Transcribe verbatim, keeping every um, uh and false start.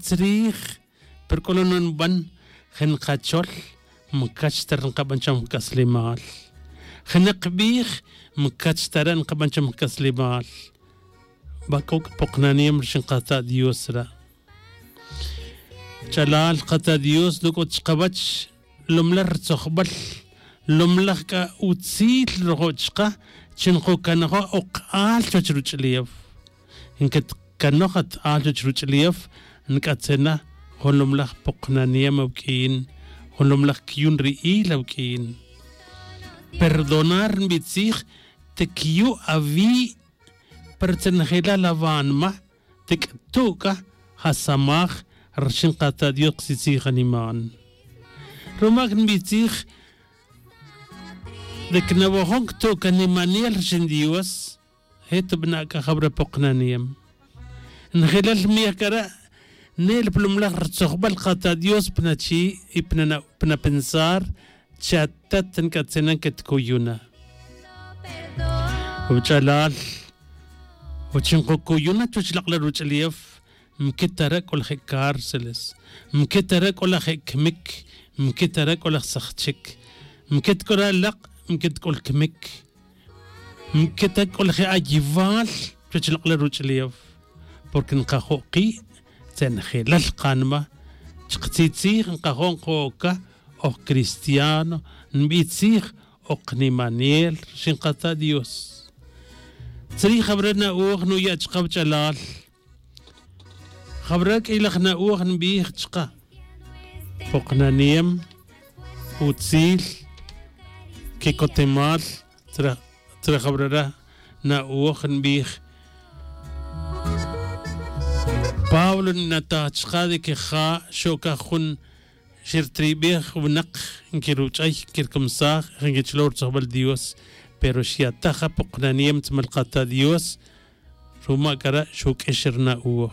chrij. Pero c'o lo' no nban je nkachol, mcach ta re' nkaban cham jc'aslemal. Je nak bij, mcach ta re' nkaban cham jc'aslemal. Ba c'o c'a poknaniem rxin kata' dios re'. Ch'alal kata' dios no c'o chkawech lomlaj rtzojbal, lomlaj c'a utzil rojo' chka chi nkocanojo' ok k'al chuwech ruch'ulef. Nquetcanoj at al chuwech ruch'ulef, nc'atzena jun lomlaj poknaniem awq'uin, jun lomlaj cuyun ri'il awq'uin. Perdonar nbitzij, tiquiyu' awi', pero tzenjelal awanma, tic'tu' c'a jasamaj rxin kata' dios ktzij animan. Ruma' c'a nbitzij, de cnawajon ctu' c'a nimanel rxin dios, je' tubana' c'a jawra poknaniem. Njelal mej c'a re', ne'el pa lomlaj rtzojbal kata' dios pa nachi' y pa napensar, chi atat nc'atzenan que tcuyuna. Wach'alal, wachi nkocuyuna chuwech lak'laj ruch'ulef, mquitara' c'o laj je' cárceles, mquitara' c'o laj je' cmic, mquitara' c'o laj sajchic, mquit c'o laj lak', mquit c'o lcmic, mquita c'o laj je' ayiwal chuwech lak'laj ruch'ulef. Porque nkajo' ki' tzenjelal kanma. Chktzij tzij nkajo' nko'oca, oj cristiano, nbitzij, oj nimanel rxin kata' dios. Tzrij jawra na'oj nuya' chka wach'alal. Jawra q'uiy laj na'oj nbij chka, poknaniem, utzil, quicotemal. Tzra jawra re' na'oj nbij, pablo nnataj chka de que ja xo'ca jun xirtribej winak, nquiruch'ay, nquircamsaj, nquich'olow rutzojbal dios. Pero xyataj ja poknaniem tzmal kata' dios. Ruma' c'a re' xuq'uix ri na'oj.